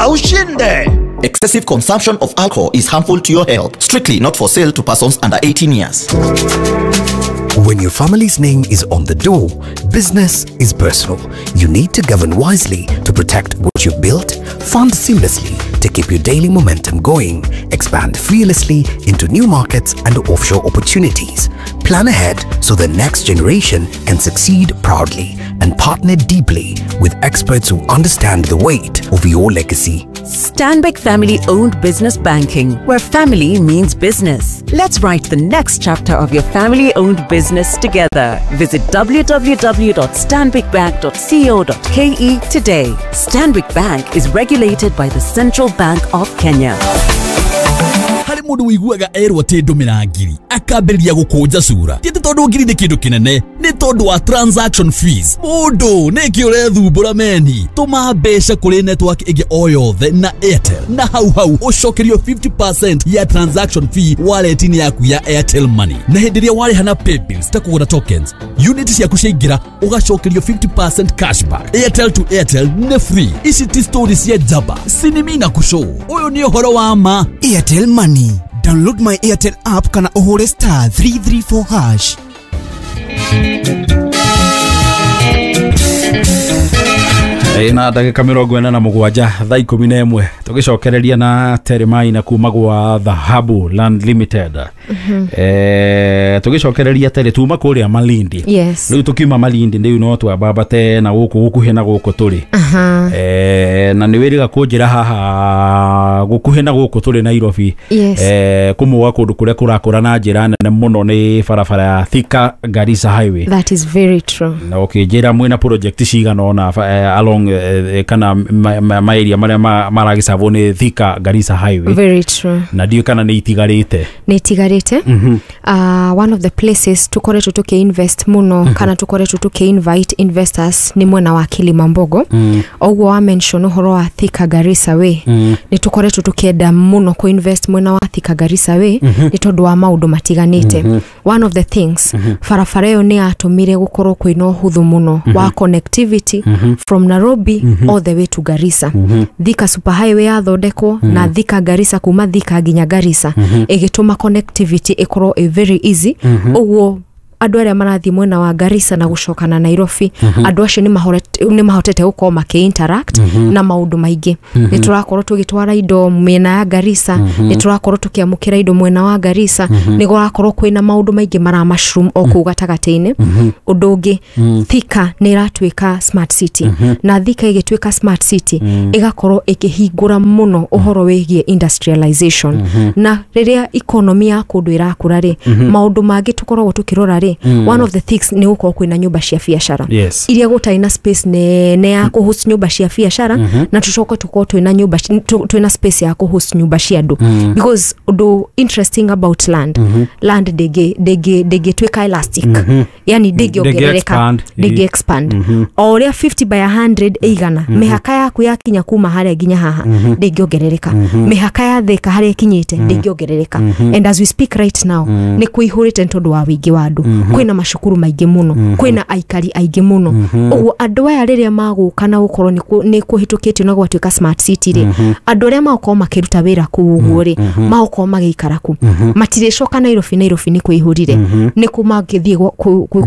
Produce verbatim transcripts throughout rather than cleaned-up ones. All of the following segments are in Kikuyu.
Cheza ushinde. Excessive consumption of alcohol is harmful to your health. Strictly not for sale to persons under eighteen years. When your family's name is on the door, business is personal. You need to govern wisely to protect what you've built, fund seamlessly to keep your daily momentum going, expand fearlessly into new markets and offshore opportunities, plan ahead so the next generation can succeed proudly, and partner deeply with experts who understand the weight of your legacy. Stanbic Family-Owned Business Banking, where family means business. Let's write the next chapter of your family-owned business together. Visit w w w dot stanbic bank dot co dot k e today. Stanbic Bank is regulated by the Central Bank of Kenya. Harĩ mũndũ ũiguaga erwo atĩ ndũmĩra ngiri akambĩrĩria gũkũnja cura. Ti atĩ tondũ ngiri nĩ kĩndũ kĩnene, nĩ tondũ wa transaction fees. Mũndũ nĩkĩ ũrethumbũra meni? Tũma mbeca kũrĩ network ĩngĩ o yothe na Airtel, na hau hau ũcokerio fifty percent ya transaction fee wallet-inĩ yaku ya Airtel Money. Na hĩndĩ ĩrĩa warĩha na paybills ta kũgũra tokens, unit ciaku ciaingĩra ũgacokerio fifty percent cashback. Airtel to Airtel nĩ free. Ici ti story cia njamba, sinimi na kushow. Ũyũ nĩ ũhoro wa ma. Airtel Money. Download my Airtel app kana ũhũre star three three four hash. Ina ndagĩka mĩrongo ĩna na mũgwanja thaa ikũmi na ĩmwe tũgĩcokereria na Terry na kuma gwa Dhahabu Land Limited. Mm-hmm. Eh, tũgĩcokereria Terry tuma kũrĩa Malindi. Yes. Rĩu tũkiuma Malindi rĩu no twambambate na gũkũ gũkuhĩ na gũkũ tũrĩ. Uh-huh. Eh, na nĩ wĩrĩga kũnjĩra haha gũkuhĩ na gũkũ tũrĩ Nairobi. Yes. Eh, kũmwe kũndũ kũrĩa kũrakũra na njĩra nene mũno nĩ barabara ya Thika Garissa Highway. That is very true. Na ũkĩnjĩra mwĩna project cigana ũna eh, along kana ma area maria maragicabwo nĩ Thika Garissa Highway. Very true. Na ndiũ kana nĩ itigarĩte. Nĩ itigarĩte. Mm-hmm. Uh, one of the places tukoretwo tuki-invest mũno, mm-hmm. kana tukoretwo tuki-invite investors nĩ mwena wa Kilimambogo. Mm. Ũguo wa mention ũhoro wa Thika Garissa Way. Mm. Nĩ tukoretwo tukienda mũno ku-invest mwena wa Thika Garissa Way, mm-hmm. nĩ tondũ wa maũndũ matiganĩte. Mm-hmm. One of the things, mm-hmm. barabara ĩyo nĩ yatũmire gũkorwo kwĩna ũhũthũ mũno, mm-hmm. wa connectivity, mm-hmm. from Nairobi, mm-hmm. all the way to Garissa. Mm-hmm. Thika Super Highway yathondekwo, mm-hmm. na Thika Garissa kuma Thika nginya Garissa, mm-hmm. ĩgĩtũma connectivity ĩkorwo ĩ very easy. Mm-hmm. Ũguo andũ arĩa marathiĩ mwena wa Garissa na gũcoka na Nairobi, mm-hmm. andũ acio nĩ mahotete gũkorwo makĩ-interact, mm-hmm. na maũndũ maingĩ. Mm-hmm. Nĩ tũrakorwo tũgĩtwara indo mĩena ya Garissa, mm-hmm. nĩ tũrakorwo tũkĩamũkĩra indo mwena wa Garissa, mm-hmm. nĩ gũrakorwo kwĩna maũndũ maingĩ mara mushroom o kũu gatagatĩ-inĩ. Mm-hmm. Ũndũ ũngĩ, mm-hmm. Thika nĩ ĩratuĩka smart city. Mm-hmm. Na Thika ĩgĩtuĩka smart city, mm-hmm. ĩgakorwo ĩkĩhingũra mũno ũhoro wĩgiĩ industrialization. Mm-hmm. Na rĩrĩa economy ya kũndũ ĩrakũra rĩ, mm-hmm. maũndũ mangĩ tũkoragwo tũkĩrora rĩ, Mm. one of the things nĩ gũkorwo kwĩna nyũmba cia biacara. Yes. Iria gũtarĩ na space nene ya kũhost nyũmba cia biacara, mm-hmm. na tũcoke tũkorwo twĩna nyũmba twĩna space ya kũhost nyũmba cia andũ. Mm. Because ũndũ interesting about land, mm-hmm. land ndĩngĩ ndĩngĩ ndĩngĩtuĩka elastic. Mm-hmm. Yani ndĩngĩongerereka, ndĩngĩ expand. Mm-hmm. O ũrĩa fifty by a hundred ĩigana, mm-hmm. mĩhaka yaku yakinya kuma harĩa nginya haha, mm-hmm. ndĩngĩongerereka. Mm-hmm. Mĩhaka ya Thika harĩa ĩkinyĩte, mm-hmm. ndĩngĩongerereka. Mm-hmm. And as we speak right now, mm-hmm. nĩ kũihũrĩte nĩ tondũ wa wĩingĩ wa andũ. Mm-hmm. Kwĩna macukuru maingĩ mũno, mm-hmm. kwĩna aikari aingĩ mũno. Mm-hmm. Ũguo andũ aya rĩrĩa magũka na gũkorwo nĩ kũhĩtũkĩtio na gwatuĩka smart city rĩ, mm-hmm. andũ arĩa magũkorwo makĩruta wĩra kũu ũguo rĩ, mm-hmm. magũkorwo magĩikara kũ. Mm-hmm. Matirĩcoka Nairobi, Nairobi nĩ kũihũrire. Mm-hmm. Nĩ kũ mangĩthiĩ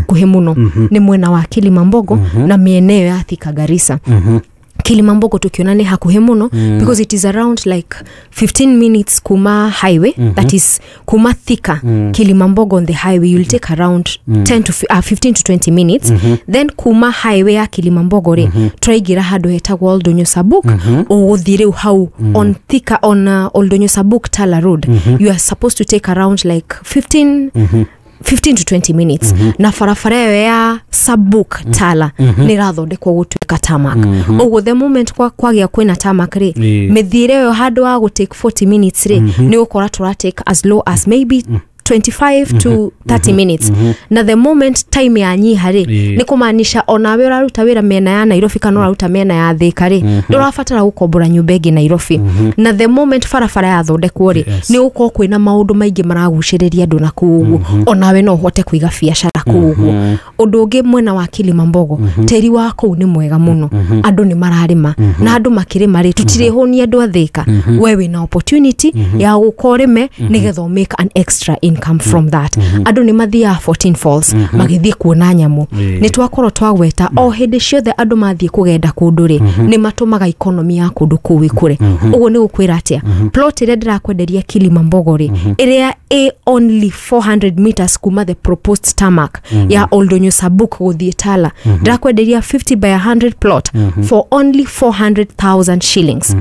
kuhe mũno. Mm-hmm. Nĩ mwena wa Kilimambogo, mm-hmm. na mĩena ĩyo ya Thika Garissa. Mm-hmm. Kilimambogo tukiona nĩ hakuhĩ mũno, mm. because it is around like fifteen minutes kuma highway, mm-hmm. that is kuma Thika, mm. Kilimambogo on the highway you'll take around mm. ten to uh, fifteen to twenty minutes. Mm-hmm. Then kuma highway ya Kilimambogo rĩ, mm-hmm. tũraingĩra handũ hetagwo Oldonyo Sabuk, mm-hmm. ũgũthiĩ rĩu hau mm. on Thika on uh, Oldonyo Sabuk Tala Road. Mm-hmm. You are supposed to take around like fifteen mm-hmm. fifteen to twenty minutes. Mm-hmm. Na barabara ĩyo ya Sabuk Tala mm-hmm. nĩ ĩrathondekwo gũtuĩka tarmac. Mm-hmm. Ũguo the moment kwa kwagĩa kwĩna tarmac rĩ, yeah. mĩthiĩre ĩyo handũ ha gũ take forty minutes rĩ, mm-hmm. nĩ ũgũkora tũra take as low as maybe mm. twenty-five to thirty minutes. Na the moment time yanyiha rĩ, Ĩĩ. nĩ kũmaanisha onawe ũraruta wĩra mĩena ya Nairobi kana ũraruta mĩena ya Thĩka rĩ, ndũrabatara gũkombora nyũmba ĩngĩ Nairobi. Na the moment barabara yathondekwo rĩ, Yes. nĩ gũkorwo kwĩna maũndũ maingĩ maragucĩrĩria andũ na kũu ũguo, onawe no ũhote kũiga biacara kũu ũguo. Ũndũ ũngĩ, mwena wa Kilimambogo, tĩri wa kũu nĩ mwega mũno, andũ nĩ mararĩma, na andũ makĩrĩma rĩ, tũtirĩhũnia andũ a Thĩka. We wĩna opportunity ya gũka ũrĩme nĩgetha ũ make an extra income from that. Andũ nĩ mathiaga fourteen Falls magĩthiĩ kuona nyamũ. Ĩĩ. Nĩ twakorwo twagweta o hĩndĩ ciothe andũ mathiĩ kũgenda kũndũ rĩ, nĩ matũmaga economy ya kũndũ kũu ĩkũre. Ũguo nĩ gũkwĩra atĩa, plot ĩrĩa ndĩrakwenderia Kilimambogo rĩ, ĩrĩa ĩ only four hundred meters kuma the proposed tarmac ya Oldonyo Sabuk gũthiĩ Tala, ndĩrakwenderia fifty by one hundred plot for only four hundred thousand shillings,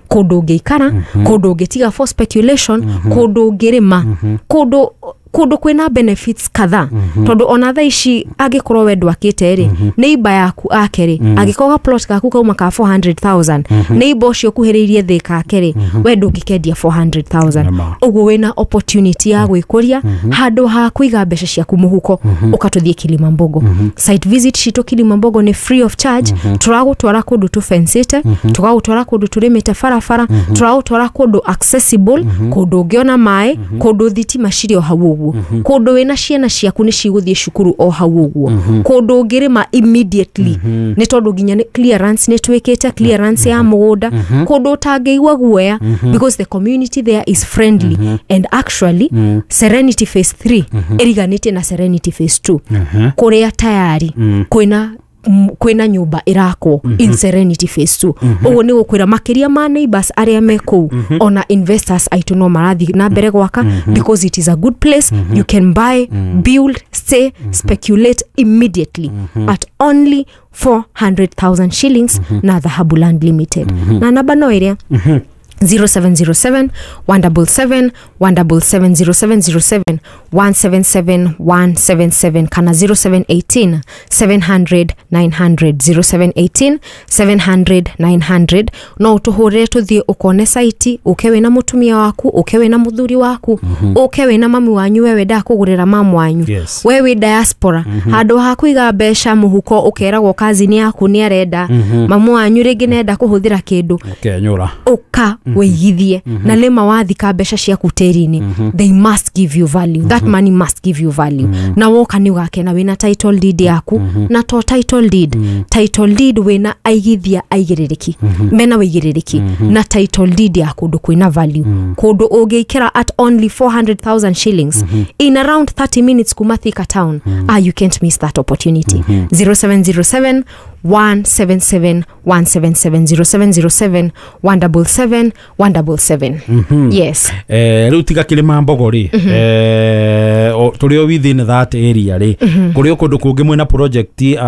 kũndũ ũngĩikara, kũndũ ũngĩtiga for speculation, kũndũ ũngĩrĩma, kũndũ kũndũ kwĩna benefits kadhaa, tondũ ona thaa ici angĩkorwo we ndwakĩte rĩ, neighbor yaku ake rĩ, angĩkorwo ga plot gaku kauma ka four hundred thousand, neighbor ũcio ũkuhĩrĩirie thĩ kake rĩ, we ndũngĩkendia four hundred thousand. Nĩma. Ũguo wĩna opportunity ya gwĩkũria handũ ha kũiga mbeca ciaku mũhuko, ũkatũthiĩ Kilimambogo. Site visit citũ Kilimambogo nĩ free of charge. Tũragũtwara kũndũ tũfencĩte, tũgagũtwara kũndũ tũrĩmĩte barabara, tũragũtwara kũndũ accessible, kũndũ ũngĩona maĩ, kũndũ thitima cirĩ o hau ũguo, kũndũ wĩna ciana ciaku nĩ cigũthiĩ cukuru o hau ũguo, kũndũ ũngĩrĩma immediately, nĩ tondũ nginya nĩ clearance nĩ twĩkĩte clearance ya mũgũnda, kũndũ ũtangĩigua guoya because the community there is friendly. And actually Serenity Phase three ĩriganĩtie na Serenity Phase two, kũrĩa tayari kwĩna m- kwĩna nyũmba ĩrakwo in Serenity Phase two. Ũguo nĩ gũkwĩra makĩria ma neighbors arĩa me kũu, ona investors aitũ no marathiĩ na mbere gwaka because it is a good place. You can buy, build, stay, speculate immediately at only four hundred thousand shillings na Dhahabu Land Limited. Na namba no ĩrĩa zero seven zero seven one seven seven one seven seven, zero seven zero seven one seven seven one seven seven kana zero seven one eight seven hundred nine hundred, zero seven one eight seven hundred nine hundred. No ũtũhũrĩre tũthiĩ ũkone site, ũke wĩna mũtumia waku, ũke wĩna mũthuri waku, ũke wĩna mami wanyu, we wendaga kũgũrĩra mamu wanyu. Yes. We wĩ diaspora, handũ ha kũiga mbeca mũhuko ũkeragwo kazini yaku nĩ arenda, mamu wanyu rĩngĩ nenda kũhũthĩra kũndũ, ũkenyũra. Ũka wĩigithie na nĩma wathika mbeca ciaku tĩri-inĩ, they must give you value. That money must give you value. Na woka nĩ ũgakena wĩna title deed yaku, na to title deed, title deed wĩna aigithia aigĩrĩrĩki mena wĩigĩrĩrĩki, na title deed ya kũndũ kwĩna value, kũndũ ũngĩikĩra at only four hundred thousand shillings in around thirty minutes kuma Thika town. Ah, you can't miss that opportunity. zero seven zero seven one seven seven one seven seven, zero seven zero seven one seven seven one seven seven. Yes. Eh, rĩu tiga kĩrĩma mbogo rĩ, eh, o- tũrĩ o within that area rĩ, kũrĩ o kũndũ kũngĩ mwĩna project uh,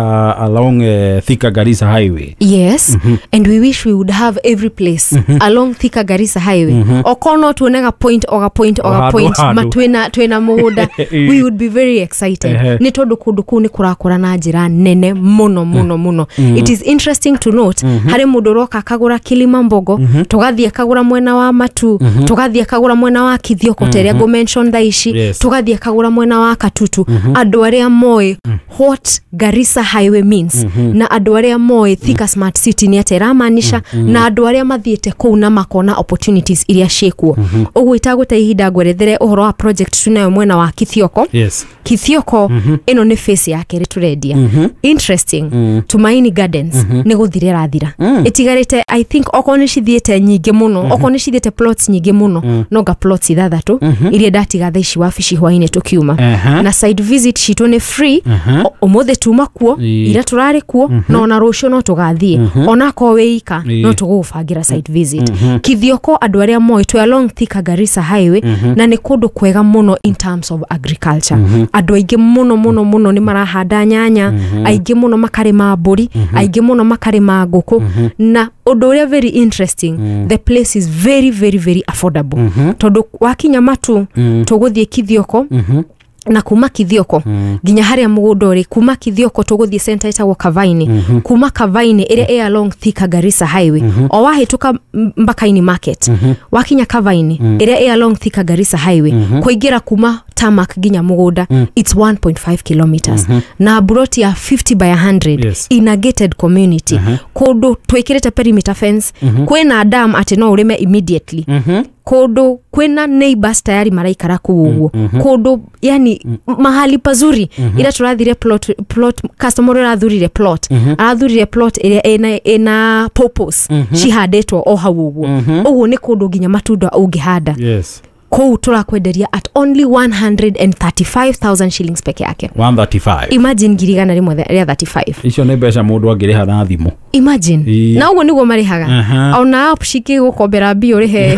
along uh, Thika Garissa Highway? Yes, and we wish we would have every place along Thika Garissa Highway. Okorwo no tuonaga point oga point oga handũ, point handũ. ma twĩna twĩna mũgũnda, we would be very excited, Ehe. nĩ tondũ kũndũ kũu nĩ kũrakũra na njĩra nene mũno mũno mũno. It is interesting to note, harĩ mũndũ ũroka akagũra Kilimambogo, tũgathiĩ akagũra mwena wa Matu, tũgathiĩ akagũra mwena wa Kithioko ta ĩrĩa ngũ-mention thaa ici, Yes. tũgathiĩ akagũra mwena wa Katutu. Andũ arĩa moĩ what Garissa Highway means, na andũ arĩa moĩ Thika Smart City nĩ atĩa ĩramaanisha, na andũ arĩa mathiĩte kũu na makona opportunities iria ciĩkuo. Ũguo itagũte ihinda ngwerethere ũhoro wa project tunayo mwena wa Kithioko. Yes Kithioko ĩno nĩ phase ya kerĩ tũrendia. Interesting, Tumaini Gardens nĩ gũthira ĩrathira, ĩtigarĩte I think okorwo nĩ cithiĩte nyingĩ mũno, okorwo nĩ cithiĩte plots nyingĩ mũno, no nga plots ithathatũ iria ndatiga thaa ici wabici hwainĩ tũkiuma. Aha. Na site visit citũ nĩ free. O- ũmũthĩ tuma kuo, Ĩĩ. ira tũrarĩ kuo, na ona rũciũ no tũgathiĩ, onakorwo wĩ ika, Ĩĩ. no tũgũgũbangĩra site visit. Kithioko, andũ arĩa moĩ, twĩ along Thika Garissa Highway, na nĩ kũndũ kwega mũno in terms of agriculture. Andũ aingĩ mũno mũno mũno nĩ marahanda nyanya, aingĩ mũno makarĩma mbũri, aingĩ mũno makarĩma ngũkũ. Na ũndũ ũrĩa very interesting, the place is very very very affordable, tondũ wakinya Matu tũgũthiĩ Kithioko. Na kuma Kithioko nginya haria mugunda uri, kuma Kithioko tuguthie center itagwo Kavaini, kuma Kavaini ĩrĩa ĩ along Thika Garissa Highway, o wahĩtũka Mbakaini Market, wakinya Kavaini ĩrĩa ĩ along Thika Garissa Highway, kũingĩra kuma tarmac nginya mugunda, it's one point five kilometers, na buroti ya fifty by one hundred Yes. in a gated community, kũndũ twĩkĩrĩte perimeter fence, kwĩna dam atĩ no ũrĩme immediately, kũndũ kwĩna neighbors tayari maraikara kũu ũguo, kũndũ yani mahali pazuri. Ira tũrathire plot, plot customer ũrĩa ũrathurire plot, arathurire plot ĩrĩa ĩna, ĩna purpose cihandĩtwo o hau ũguo. Ũguo nĩ kũndũ nginya matunda ũngĩhanda. Yes. Kũu tũrakwenderia at only one hundred thirty-five thousand shillings peke yake. one thirty-five. Imagine, ngiri igana rĩmwe rĩa mĩrongo ĩtatũ na ithano. Icio nĩ mbeca mũndũ angĩrĩha na thimũ. Imagine. Ii. Na ũguo nĩguo marĩhaga. Aha. Ona app cikĩgũkombera mbia ũrĩhe.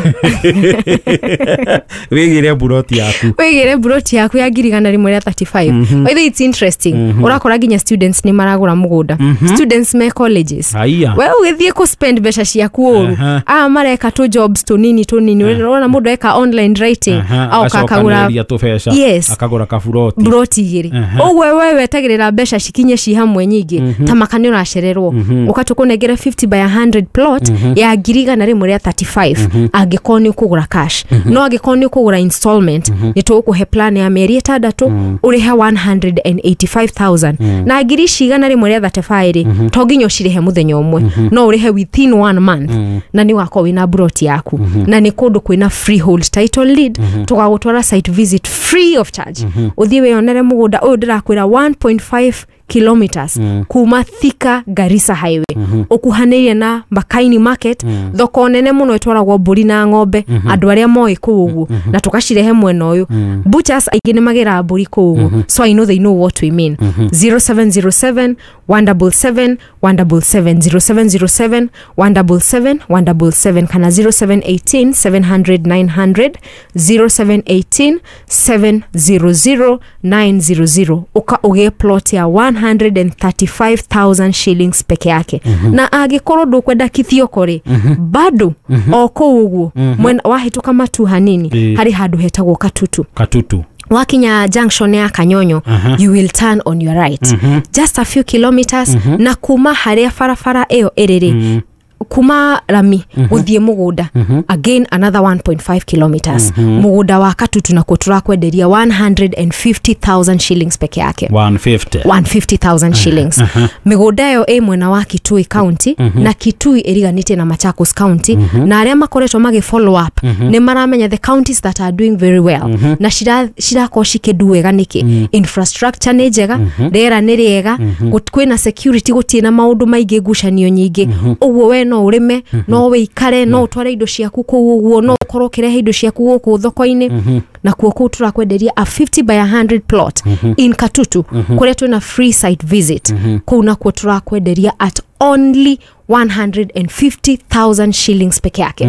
Wĩgĩre buroti yaku. Wĩgĩre buroti yaku ya ngiri igana rĩmwe rĩa mĩrongo ĩtatũ na ithano. By the way, it's interesting, ũrakora nginya students nĩ maragũra mũgũnda, students me colleges. Haiya. We ũgĩthiĩ kũ spend mbeca ciaku ũru. Aha. Aya mareka tũ jobs tũnini tũnini, ũrona mũndũ eka online writing Aha, aoka akagũra. Agacokanĩrĩria tũbeca. Yes. Akagũra kaburoti. Buroti igĩrĩ. Aha. Ũguo we wetagĩrĩra mbeca cikinye ci hamwe nyingĩ, ta maka nĩ ũracererwo, ũka tũkũnengere fifty by one hundred plot ya ngiri igana rĩmwe rĩa mĩrongo ĩtatũ na ithano angĩkorwo nĩ ũkũgũra cash. No angĩkorwo nĩ ũkũgũra installment, nĩ tũgũkũhe plan ya mĩeri ĩtandatũ, ũrĩhe one hundred eighty-five thousand. Na ngiri ici igana rĩmwe rĩa mĩrongo ĩtatũ na ithano rĩ, to nginya ũcirĩhe mũthenya ũmwe, no ũrĩhe within one month na nĩ wakorwo wĩna buroti yaku. Na nĩ kũndũ kwĩna freehold title deed. Tũgagũtwara site visit free of charge, ũthiĩ wĩyonere mũgũnda ũyũ ndĩrakwĩra, one point five kilometers kuma Thika Garissa Highway, ũkuhanĩirie na Mbakaini Market, thoko nene mũno ĩtwaragwo mbũri na ng'ombe, andũ arĩa moĩ kũu ũguo, na tũkacirehe mwena ũyũ. Butchers aingĩ nĩ magĩraga mbũri kũu ũguo, so I know they know what we mean. zero seven zero seven one seven seven one seven seven, zero seven zero seven one seven seven one seven seven, kana zero seven one eight seven hundred nine hundred, zero seven one eight seven hundred nine hundred. Uka ũgĩe plot ya one hundred thirty-five thousand shillings peke yake. Na angĩkorwo ndũkwenda Kithioko rĩ, bado o kũu ũguo mwena wahĩtũka matu hanini, Ĩĩ. harĩ handũ hetagwo Katutu. Katutu. Wakinya junction ya Kanyonyo, you will turn on your right, just a few kilometers, na kuma harĩa barabara ĩyo ĩrĩ rĩ, kuma rami gũthiĩ mũgũnda, again another one point five kilometers. Mũgũnda wa Katutu nakuo tũrakwenderia one hundred fifty thousand shillings peke yake. one fifty. one hundred fifty thousand shillings. Mĩgũnda ĩyo ĩ mwena wa Kitui County, na Kitui ĩriganĩtie na Machakos County, na arĩa makoretwo magĩ follow up nĩ maramenya the counties that are doing very well na cira- cirakorwo cikĩndu wega. Nĩkĩ? Infrastructure nĩ njega, rĩera nĩ rĩega, gut- kwĩna security, gũtirĩ na maũndũ maingĩ, ngucanio nyingĩ. Ũguo we no ũrĩme, no wĩikare, no ũtware indo ciaku kũu ũguo, no ũkorwo ũkĩrehe indo ciaku gũkũ thoko-inĩ. Nakuo kũu tũrakwenderia a fifty by one hundred plot in Katutu, kũrĩa twĩna free site visit. Kũu nakuo tũrakwenderia at only one hundred fifty thousand shillings peke yake.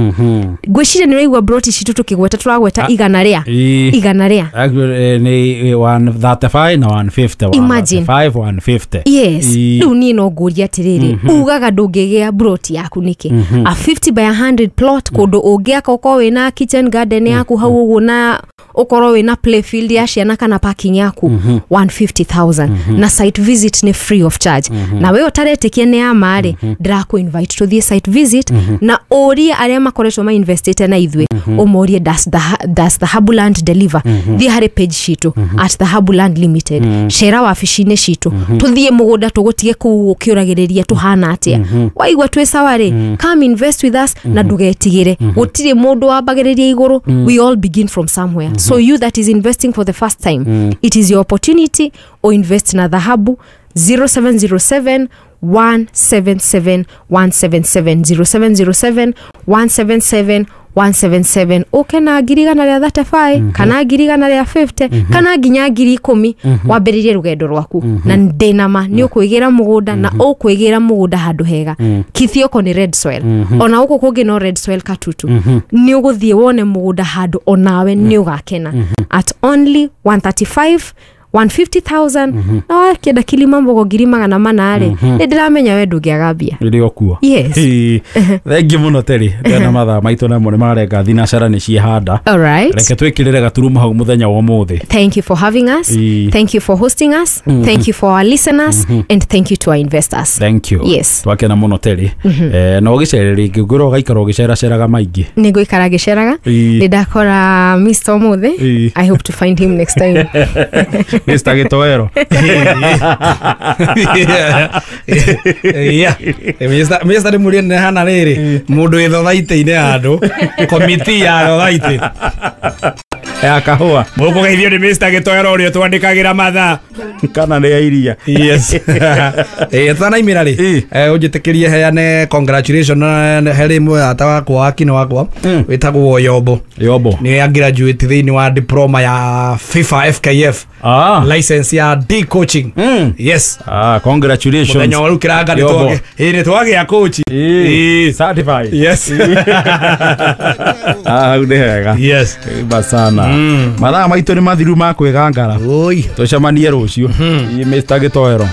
Ngwĩciria nĩ ũraigua broti citũ tũkĩgweta, tũragweta igana rĩa Ĩĩ. igana rĩa Actually, eh, nĩ one thirty-five na one fifty. Imagine. one thirty-five, one fifty. Yes. Ĩĩ. Rĩu niĩ no ngũrie atĩrĩrĩ, ugaga ndũngĩgĩa broti yaku nĩkĩ? A fifty by one hundred plot, kũndũ ũngĩaka ũkorwo wĩna kitchen garden yaku hau ũguo, na ũkorwo wĩna playfield ya ciana kana parking yaku, one hundred fifty thousand, na site visit nĩ free of charge. Na we ũtaretĩkia nĩ ya ma rĩ, ndĩrakũ invite tũthiĩ site visit na ũrie arĩa makoretwo mainvestĩte na ithuĩ, ũmorie, does the, does the Habuland deliver? Thiĩ harĩ page citũ at the Habuland Limited, cera wabici-inĩ citũ, tũthiĩ mũgũnda tũgũtige kũu ũkĩũragĩrĩria tũhana atĩa. Waigua twĩ sawa rĩ, come invest with us na ndũgetigĩre. Gũtirĩ mũndũ wambagĩrĩria igũrũ, we all begin from somewhere. So you that is investing for the first time, it is your opportunity o invest na Dhahabu. zero seven zero seven one seven seven one seven seven, zero seven zero seven one seven seven one seven seven. Ũke na ngiri igana rĩa mĩrongo ĩtatũ na ithano kana ngiri igana rĩa mĩrongo ĩnana, kana nginya ngiri ikũmi, wambĩrĩrie rũgendo rwaku, na ndĩna ma nĩ ũkwĩgĩra mũgũnda, na ũkwĩgĩra mũgũnda handũ hega. Kithioko nĩ red soil, ona gũkũ kũngĩ no red soil. Katutu nĩ ũgũthiĩ wone mũgũnda handũ onawe nĩ ũgakena at only one thirty-five. one fifty thousand na wakĩenda Kilimambogo ngiri magana mana rĩ, nĩ ndĩramenya we ndũngĩaga mbia. Rĩrĩa ũkuo. Yes. Thengi mũno Terry. Ndĩrona mathaa maitũ namo nĩ marenga thinacara nĩ ciehanda. All right. Reke twĩkĩrĩre gaturumo hau mũthenya wa ũmũthĩ. Thank you for having us. Ii. Thank you for hosting us. Mm. Thank you for our listeners. Mm -hmm. And thank you to our investors. Thank you. Yes. Twakena mũno Terry. Mm -hmm. Eh, no ũgĩcere rĩngĩ ngwĩra ũgaikara ũgĩceraceraga maingĩ. Nĩ ngũikara ngĩceraga. Nĩ ndakora Mister ũmũthĩ. I hope to find him next time. Mister Gitoero. Yeah. Mister Mister nĩ mũrĩ nĩ hana rĩrĩ mũndũ wĩ thothaitĩ-inĩ handũ komiti ya thothaitĩ ya kahũa mũkũgeithio nĩ Mister Gitoero ũrĩa twandĩkagĩra mathaa kana nĩ ya iria. Yes. Eh, tutanaimĩra rĩ, ũnjĩtĩkĩrie heane congratulation harĩ mũrata wakwa wa kino wakwa wĩtagwo Yombo. Yombo nĩ graduate thĩinĩ wa diploma ya FIFA F K F. Ah. License ya D coaching. Mm. Yes. Ah, congratulations. Mũthenya wa rĩu kĩranga nĩ twagĩa nĩ twagĩa coach. Eh, certified. Yes. Ah, hau nĩ hega. Yes. Basana. Mm. Mathaa maitũ nĩ mathiru ma kwĩgangara. Oi. Tũcemanie rũciũ. Mm. Mister Gitoero.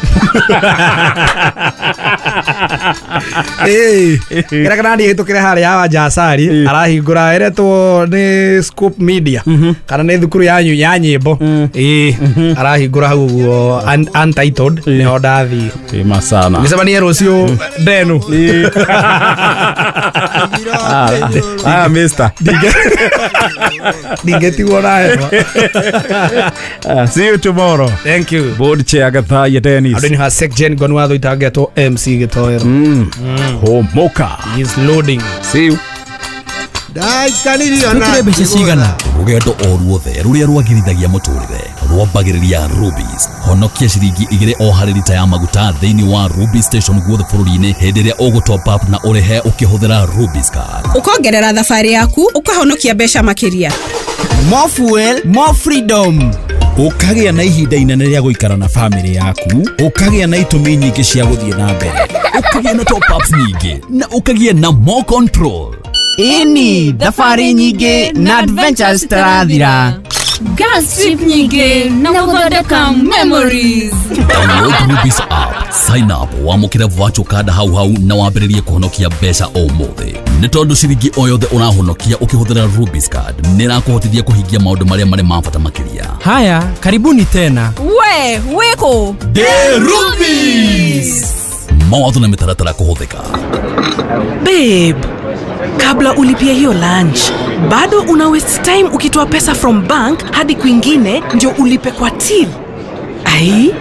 Eh, kĩrĩa kĩrathiĩ hĩtũkĩre harĩa wa Jasari arahingũra ĩretwo nĩ Scope Media kana nĩ thukuru yanyu ya nyĩmbo. Eh, arahingũra hau ũguo untitled nĩho ndathiĩ. Ĩ sana. Gĩcemanie rũciũ ndenu. Ah, ah, Mister. Ndingĩtigwo na hewa. See you tomorrow. Thank you. Board chair Gathaya Dennis. Andũ nĩ ha Sek Jen Gonwatho itangetwo M C Gitoero. Mm. Homoka. He's loading. See you. Twĩkĩre mbeca cigana rũgendo o ruothe rũrĩa rwagĩrithagia mũtũrĩre rwambagĩrĩria Rubis. Honokia ciringi igĩrĩ o harĩ rita ya maguta thĩinĩ wa Rubis station guothe bũrũri-inĩ hĩndĩ ĩrĩa ũgũ top up na ũrĩhe ũkĩhũthĩra Rubis card. Ũkongerera thabarĩ yaku ũkahonokia mbeca makĩria. More fuel, more freedom. Ũkagĩa na ihinda inene rĩa gũikara na famĩlĩ yaku, ũkagĩa na itũmi nyingĩ cia gũthiĩ na mbere, ũkagĩa na top ups nyingĩ na ũkagĩa na more control. Ĩni, thabarĩ nyingĩ na adventures tarathira. Gas trip nyingĩ na gũthondeka memories. Download Rubis app, sign up, wamũkĩre virtual card hau hau na wambĩrĩrie kũhonokia mbeca o ũmũthĩ. Nĩ tondũ ciringi o yothe ũrahonokia ũkĩhũthĩra Rubis card nĩ ĩrakũhotithia kũhingia maũndũ marĩa marĩ ma bata makĩria. Haya, karibuni tena. We, wĩkũ? The Rubis. Mawatho na mĩtaratara kũhũthĩka. Babe, kabla ulipie hiyo lunch, bado una waste time ukitoa pesa from bank hadi kwingine ndio ulipe kwa till. Ai,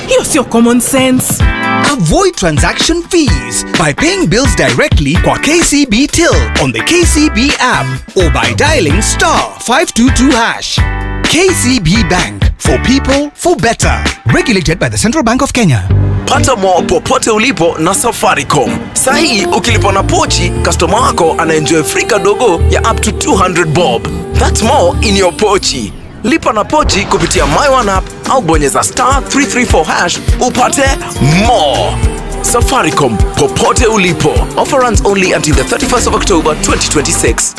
hiyo sio common sense. Avoid transaction fees by paying bills directly kwa K C B Till on the K C B app or by dialing star five two two hash. K C B Bank, for people, for better. Regulated by the Central Bank of Kenya. Pata more popote ulipo na Safaricom. Sahi ukilipa na pochi, customer wako anaenjoy free kadogo ya up to two hundred bob. That's more in your pochi. Lipa na pochi kupitia My One app au bonyeza star three three four hash upate more. Safaricom, popote ulipo. Offer runs only until the thirty-first of October twenty twenty-six.